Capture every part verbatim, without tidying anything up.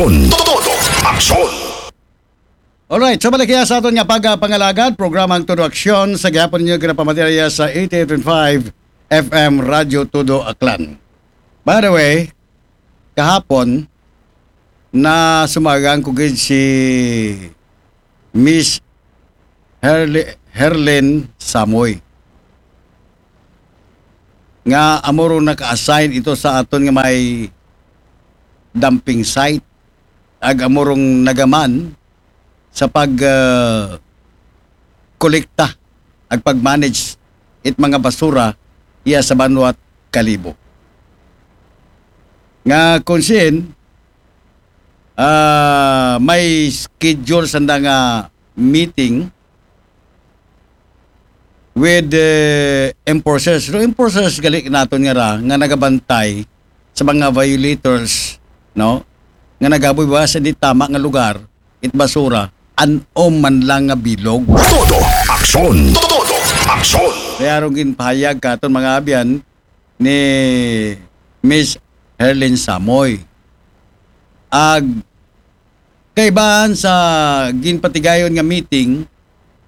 Aksyon. Todo aksyon. Alright, so balik kaya sa aton nga pagpangalagad, programang Todo Aksyon sa gihapon ninyo ginapamatirya sa eighty-eight point five F M Radyo Todo Aklan. By the way, kahapon na sumagang ko gid si Miss Herli- Herlin Samoy nga amoro naka-assign ito sa aton nga may dumping site ag amorong nagaman sa pag uh, kolekta ag pag-manage it mga basura iya sa Banwat Kalibo. Nga kung sin uh, may schedule sanda nga meeting with uh, enforcers. No, enforcers gali naton nga ra nga nagabantay sa mga violators, no? Nga nagaboy ba sa di tama nga lugar, it basura, an-o man lang nga bilog. Todo aksyon. Todo aksyon. Kaya rong ginpahayag katon mga abyan ni Miss Herlin Samoy. Ag kaibahan sa ginpatigayon nga meeting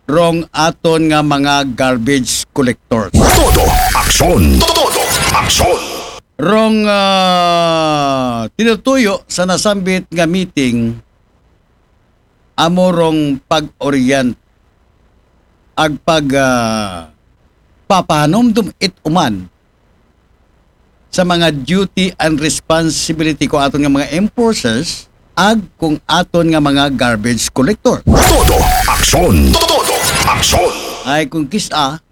rong aton nga mga garbage collectors. Todo aksyon. Todo aksyon. Rong uh, tinutuyo sa nasambit nga meeting amo rong pag-orient ag pag uh, papahanumdum it uman sa mga duty and responsibility ko aton nga mga enforcers ag kung aton nga mga garbage collector. Todo aksyon. Todo aksyon. Ay kung kisa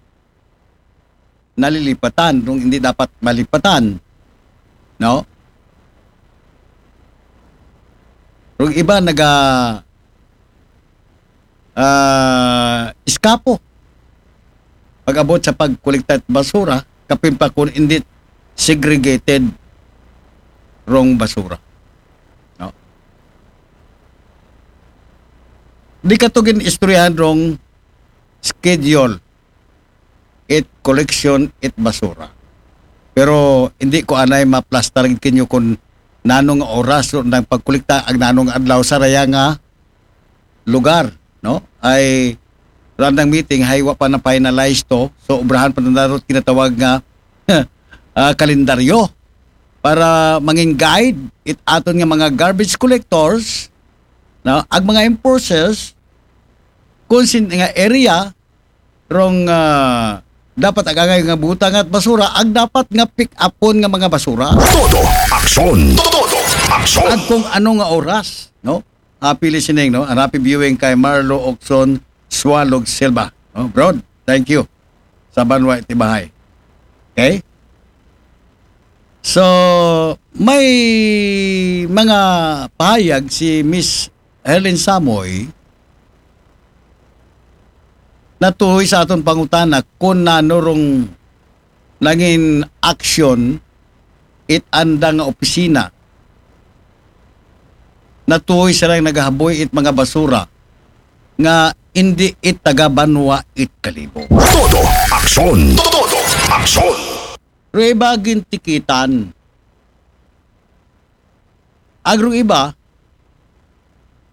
nalilipatan kung hindi dapat malipatan. No? Kung iba naga uh, iskapo pag-abot sa pagkolekta basura, kapin pa kung hindi segregated rong basura. No? Di ka to gin istoryahan rong schedule it collection it basura. Pero hindi ko anay maplastar kinyo kung nanong oras nang pagkolekta ag nanong adlaw sa raya nga lugar, no? Ay randang meeting hay wa pa na finalize to. So obrahan pa na narot kinatawag nga uh, kalendaryo para mangin guide it aton nga mga garbage collectors, no? Ag mga enforcers kung sin nga area rong uh, dapat agangay nga butangan basura ag dapat nga pick upon nga mga basura. Todo aksyon. Todo aksyon. Ag kung ano nga oras, no? Happy listening, no? And happy viewing kay Marlo Okson Swalog Silva. No? Bro, thank you. Sa Banwa Itibahay. Okay? So, may mga pahayag si Miss Helen Samoy natuhoy sa aton pangutana kung nanurong nangin aksyon it anda nga opisina natuhoy silang nagahaboy it mga basura nga indi it taga banwa it kalibo. Todo aksyon. Todo aksyon. Rueba gintikitan. Agro iba,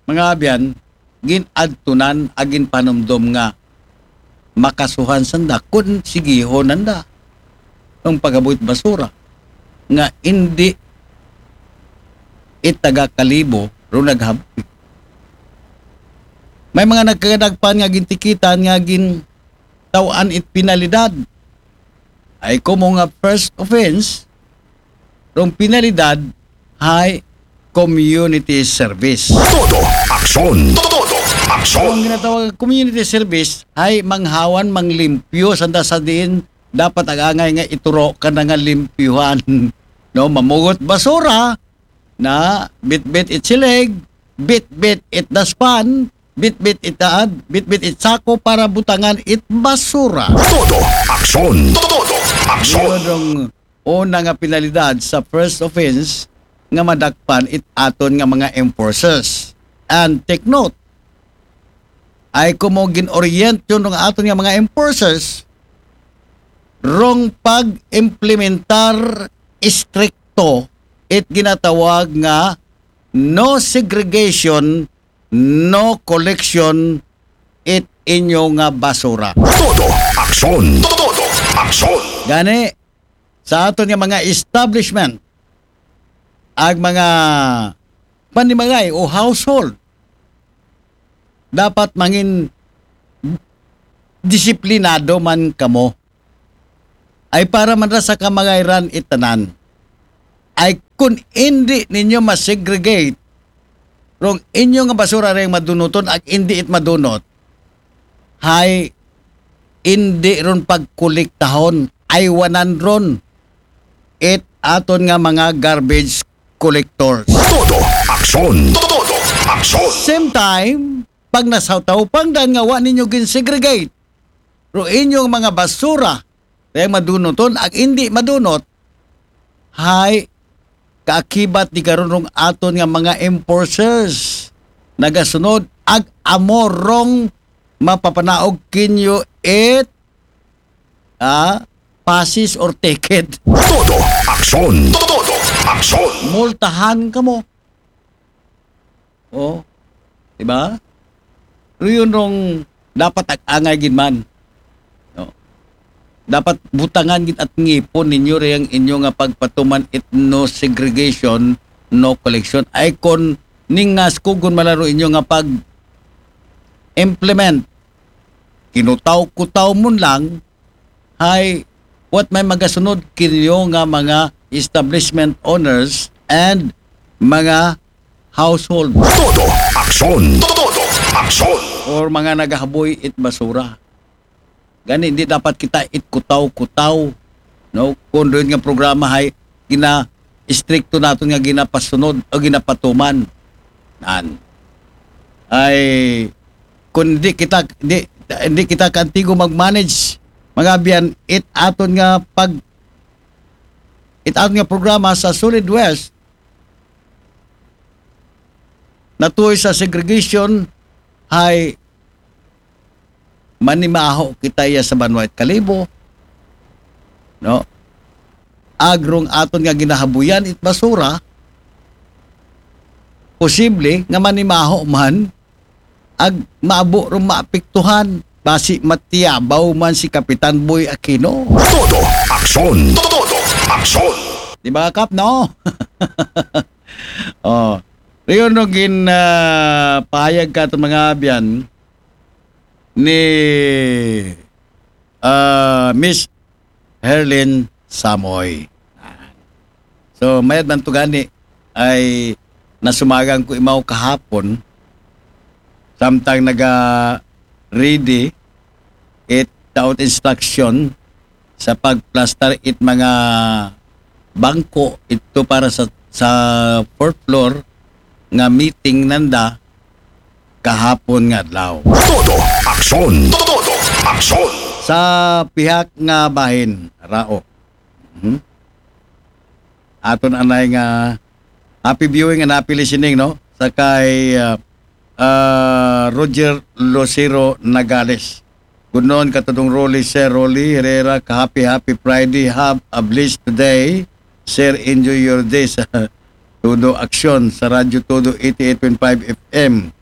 mga abyan, gin-adtunan agin panumdom nga makasuhan sanda kun sigihon nanda ang pagabuhit basura nga indi itaga kalibo ro naghabuhi. May mga nagkagadagpan nga gintikitan nga gin taw-an it penalidad. Ay komo nga first offense, rong penalidad hay community service. Todo aksyon. Todo aksyon. Ang ginatawag community service ay manghawan, manglimpyo, sanda sa diin dapat agangay nga ituro ka na nga limpyuhan. No, mamugot basura, na bitbit it silig, bitbit it daspan, bitbit it taad, bitbit it sako para butangan it basura. Todo aksyon. Todo aksyon. Yun ang una nga penalidad sa first offense nga madakpan it aton nga mga enforcers. And take note, ay kumo gin-orient yun ng aton nga mga enforcers rong pag-implementar stricto it ginatawag nga no segregation, no collection it inyo nga basura. Todo aksyon. Todo aksyon. Gani, sa aton nga mga establishment, ag mga panimagay o household, dapat mangin disiplinado man kamo. Ay para man ra sa kamagayran itanan. Ay kun indi ninyo ma-segregate, rong inyo nga basura ring madunuton ag indi it madunot, hay indi ron pagkolektahon, aywanan ron it aton nga mga garbage collectors. Todo aksyon. Todo aksyon. Same time, pag nasawtaw pangdan nga wa ninyo gin-segregate, ro inyong mga basura, kaya madunoton, ag indi madunot, hay kaakibat di karon rong aton nga mga enforcers nagasunod, ag amo rong mapapanaog kinyo it, ah, passes or ticket. Todo aksyon. Todo aksyon. Multahan kamo. Oh, di ba? Pero yun rong dapat ag-angay gid man. No? Dapat butangan gid at ngipon ninyo rin ang inyo nga pagpatuman it no segregation, no collection. Ay kon ningas kugon malaro inyo nga pag-implement, kinutaw-kutaw mo lang, hay what may magasunod kinyo nga mga establishment owners and mga household. Todo aksyon. Todo aksyon. Or mga nagahaboy it basura. Gani, hindi dapat kita it kutaw-kutaw. No? Kung doon nga programa hay gina-, istrikto naton nga ginapasunod o ginapatuman. Nan. Ay, kung di kita, di, di kita kantigo mag-manage, mga abyan, it aton nga pag, it aton nga programa sa Solid West, natuloy sa segregation, hay manimaho kita iya sa banwa it kalibo, no? Agrong aton nga ginahabuyan it basura, posible nga manimaho man ag maabo rong maapektuhan. Basi matiyabaw man si Kapitan Boy Aquino. Todo aksyon. Todo aksyon. Di ba, Kap, no? Oh. Riyon no gin, ah, pahayag ka itong mga abyan ni, ah, Miss Herlin Samoy. So, mayad man to gani ay nasumagan ko imaw kahapon, samtang naga ready it taot instruction sa pagplastar it mga bangko ito para sa, sa fourth floor nga meeting nanda kahapon nga adlaw. Todo aksyon. Todo aksyon. Sa pihak nga bahin, Rao. Mhm. Aton anay nga happy viewing and happy listening, no? Sa kay, ah, ah, Roger Lucero Nagales. Good noon, Katudong Rolly, Sir Rolly Herrera, ka happy, happy Friday. Have a blessed day. Sir, enjoy your day sa Todo Aksyon, sa Radyo Todo eighty-eight point five F M.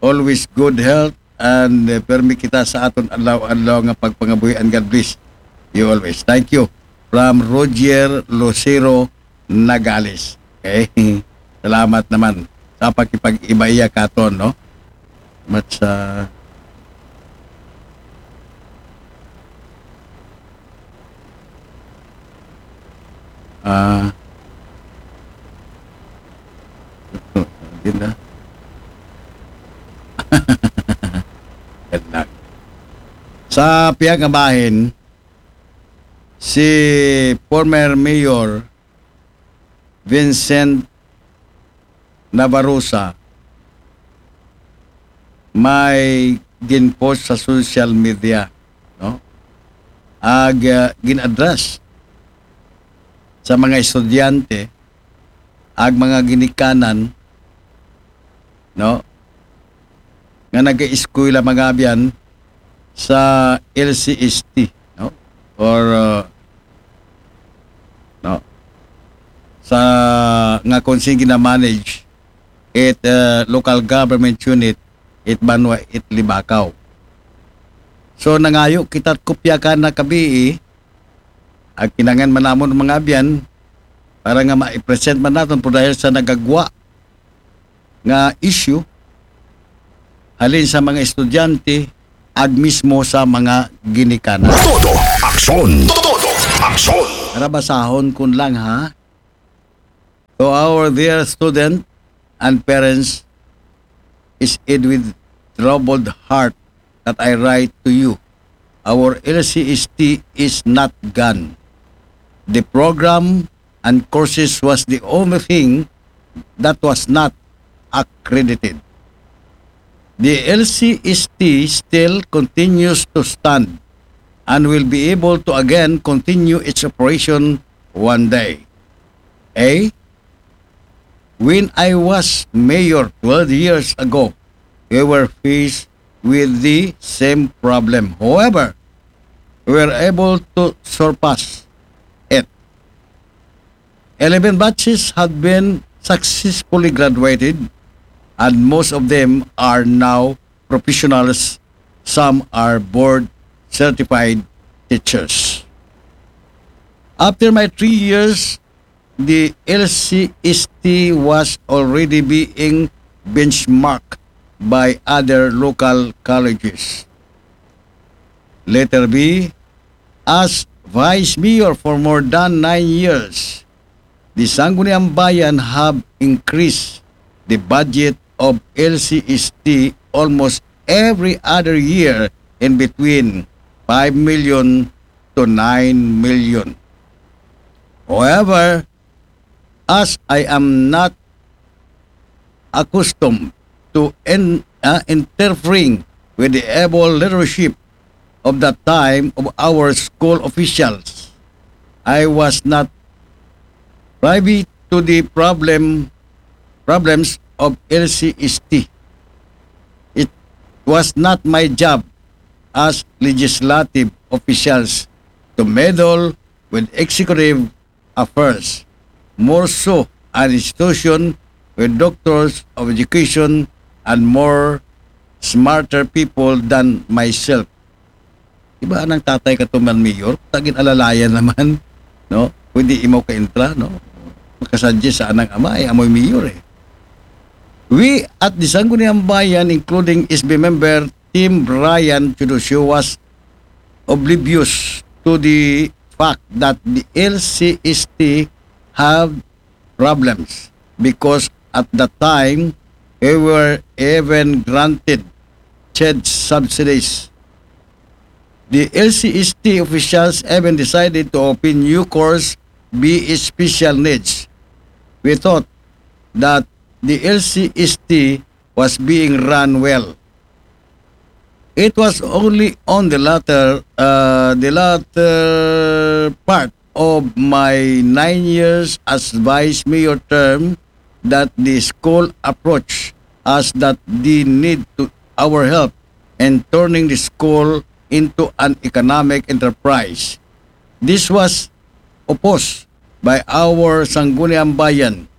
Always good health and, uh, permi kita sa aton adlaw-adlaw nga pagpangabuhi, and God bless you always. Thank you. From Roger Lucero Nagales. Okay? Salamat naman sa pakipag-ibaiya katon, no? Mat sa Ah. Yun na. Yan lang. Sa pihak nga bahin, si former Mayor Vincent Navarroza may ginpost sa social media, no? Ag, ah, gin-address sa mga estudyante, ag mga ginikanan, no? Nga nag-eskwela, mga abyan, sa L C S T, no? Or, uh, no? Sa nga kung sino gina-manage it uh, local government unit, it Banwa, it Libakaw. So nangayo kita kopya kana kabii, ag kinahanglan man namon mga abyan para nga ma-present man naton, pero dahil sa nagagwa nga issue halin sa mga estudyante ag mismo sa mga ginikanan. Todo aksyon. Todo aksyon. Para basahon kun lang ha. To our dear student and parents, is it with troubled heart that I write to you. Our L C S T is not gone. The program and courses was the only thing that was not accredited. The L C S T still continues to stand and will be able to again continue its operation one day. A. When I was mayor twelve years ago, we were faced with the same problem. However, we were able to surpass it. Eleven batches had been successfully graduated, and most of them are now professionals. Some are board certified teachers. After my three years, the L C S T was already being benchmarked by other local colleges. Letter B, as vice mayor for more than nine years, the Sangguniang Bayan have increased the budget of L C S T almost every other year in between five million to nine million. However, as I am not accustomed to en- uh, interfering with the able leadership of that time of our school officials, I was not privy to the problem problems of L C S T. It was not my job as legislative officials to meddle with executive affairs, more so an institution with doctors of education and more smarter people than myself. Diba anang tatay ka tuman mayor? Tagin alalayan naman, no? Pwede imaw ka intra, no? Makasuggest sa anang ama, ay amoy mayor eh. We at the Sangguniang Bayan, including S B member Tim Brian Teodosio, was oblivious to the fact that the L C S T have problems because at that time we were even granted CHED subsidies. The L C S T officials even decided to open new course B S special needs. We thought that the L C S T was being run well. It was only on the latter, uh, the latter part of my nine years as vice mayor term that the school approached us that they need to our help in turning the school into an economic enterprise. This was opposed by our Sangguniang Bayan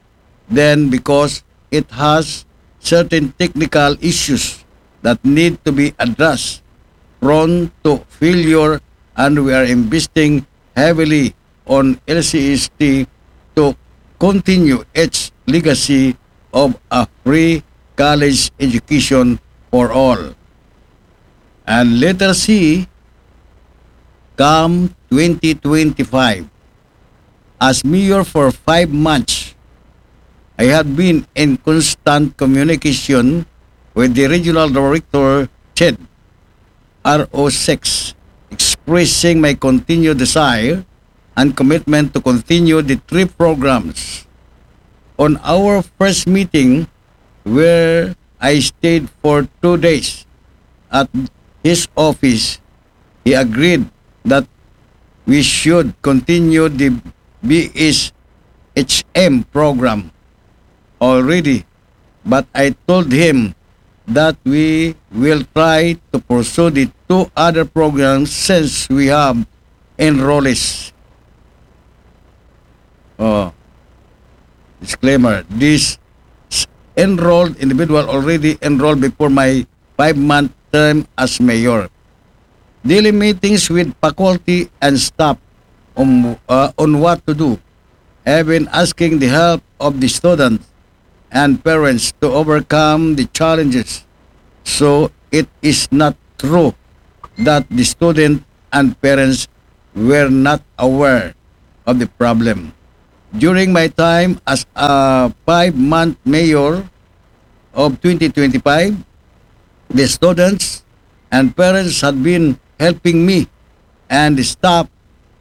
then because it has certain technical issues that need to be addressed, prone to failure, and we are investing heavily on L C S T to continue its legacy of a free college education for all. And letter C, come twenty twenty-five. As mayor for five months, I have been in constant communication with the regional director, CHED, R O six, expressing my continued desire and commitment to continue the three programs. On our first meeting, where I stayed for two days at his office, he agreed that we should continue the B S H M program already, but I told him that we will try to pursue the two other programs since we have enrollees. Oh, disclaimer, this enrolled individual already enrolled before my five-month term as mayor. Daily meetings with faculty and staff on, uh, on what to do, even asking the help of the students and parents to overcome the challenges. So it is not true that the student and parents were not aware of the problem. During my time as a five-month mayor of twenty twenty-five, the students and parents had been helping me and the staff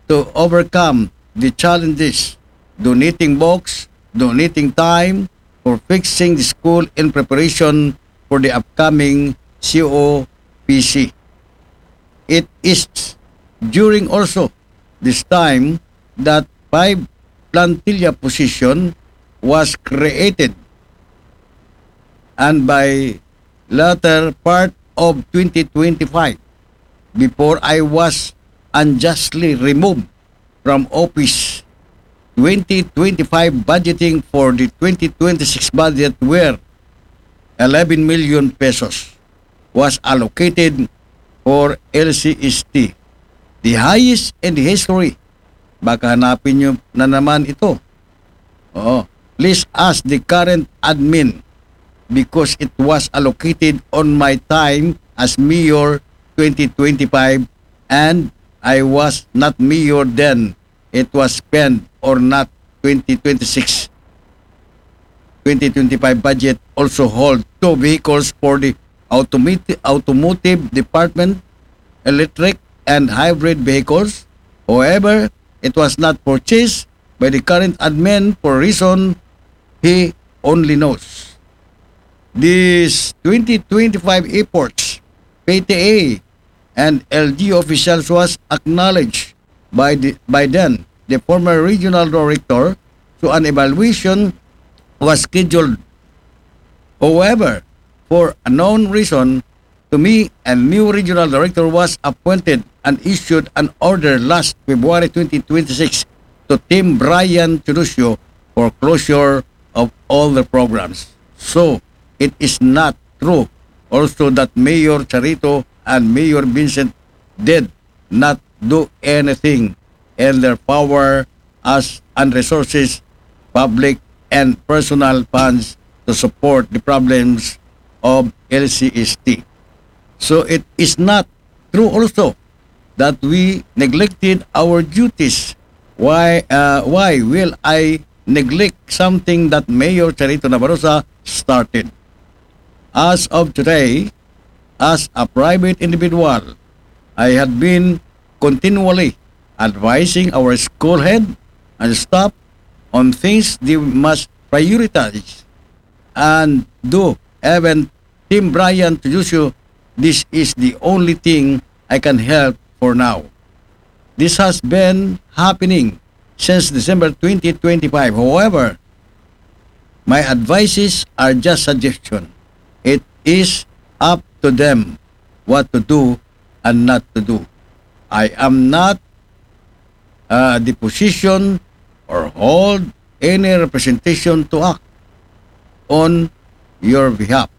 to overcome the challenges, donating books, donating time for fixing the school in preparation for the upcoming C O P C. It is during also this time that five plantilla position was created, and by latter part of twenty twenty-five, before I was unjustly removed from office, twenty twenty-five budgeting for the twenty twenty-six budget were eleven million pesos was allocated for L C S T, the highest in the history. Baka hanapin nyo na naman ito. Oo. Please ask the current admin because it was allocated on my time as mayor twenty twenty-five, and I was not mayor then. It was spent or not. Twenty twenty-six, twenty twenty-five budget also hold two vehicles for the automotive, automotive department, electric and hybrid vehicles. However, it was not purchased by the current admin for reason he only knows. These twenty twenty-five efforts, P T A and L G U officials was acknowledged by the, by then the former regional director, so an evaluation was scheduled. However, for unknown reason, to me, a new regional director was appointed and issued an order last February twenty twenty-six to Team Brian Teodosio for closure of all the programs. So, it is not true also that Mayor Charito and Mayor Vincent did not do anything in their power as and resources, public and personal funds to support the problems of L C S T. So it is not true also that we neglected our duties. Why, uh, why will I neglect something that Mayor Charito Nabarosa started? As of today, as a private individual, I had been continually advising our school head and staff on things they must prioritize and do. Even Team Brian Teodosio, this is the only thing I can help for now. This has been happening since December twenty twenty-five. However, my advices are just suggestion. It is up to them what to do and not to do. I am not, uh, the position or hold any representation to act on your behalf.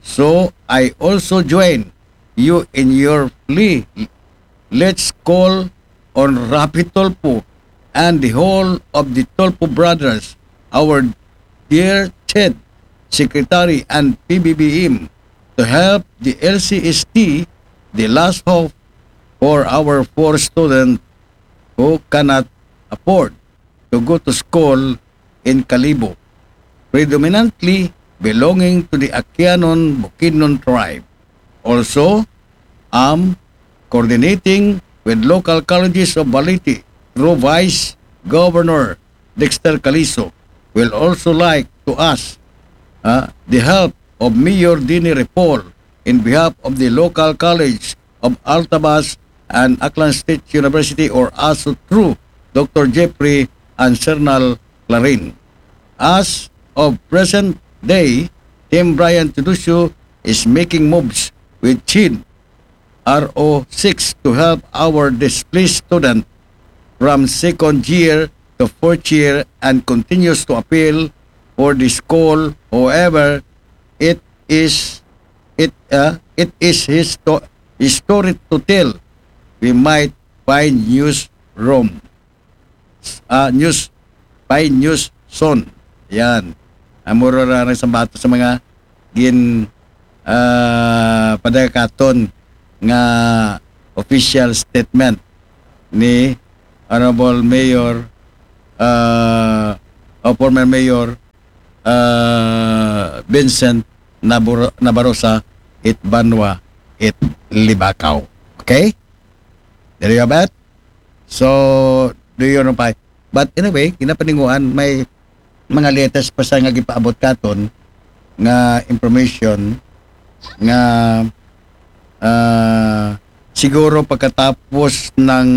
So I also join you in your plea. Let's call on Rafi Tulfo and the whole of the Tulfo brothers, our dear head secretary and P B B M, to help the L C S T, the last hope for our poor student who cannot afford to go to school in Kalibo, predominantly belonging to the Aquianon Bukidnon tribe. Also, am coordinating with local colleges of Balite through Vice Governor Dexter Calizo. Will also like to ask, uh, the help of Mayor Dini Repol in behalf of the local college of Altavas and Aklan State University, or also through Doctor Jeffrey and Sernal Clarin. As of present day, Team Brian Teodosio is making moves with CHED R O six to help our displaced student from second year to fourth year and continues to appeal for the school. However, it is it uh, it is his, to, his story to tell. We might find news room. Uh, news, find news soon. Yan. Amuro ra ang sambato sa mga gin uh, padagakaton nga official statement ni Honorable Mayor uh, o former Mayor uh, Vincent Nabur- Nabarosa it Banwa it Libakaw. Okay? There you have it. So, do you know pa? But anyway, kinapaninguan, may mga latest pa sa nga gipaabot katon nga information nga uh, siguro pagkatapos ng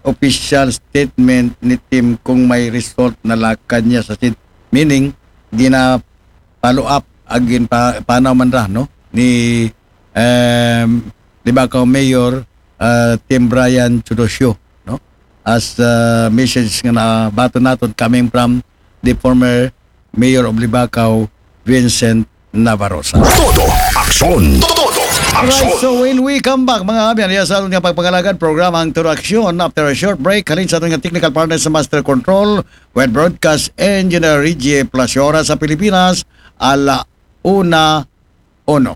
official statement ni Tim kung may result na lakad niya sa sin meaning gina follow up agin pa panaw man ra no ni um, Libakaw Mayor uh, Tim Brian Chudosio no as uh, message nga nabato naton coming from the former Mayor of Libakaw Vincent Navarroza. Todo aksyon. Todo aksyon. Alright, so when we come back, mga abyan, iya sa aton nga pagpangalagad programa ang Todo Aksyon after a short break. Halin sa aton nga technical partner sa Master Control with Broadcast Engineer Reggie Placiora sa Pilipinas, ala una uno.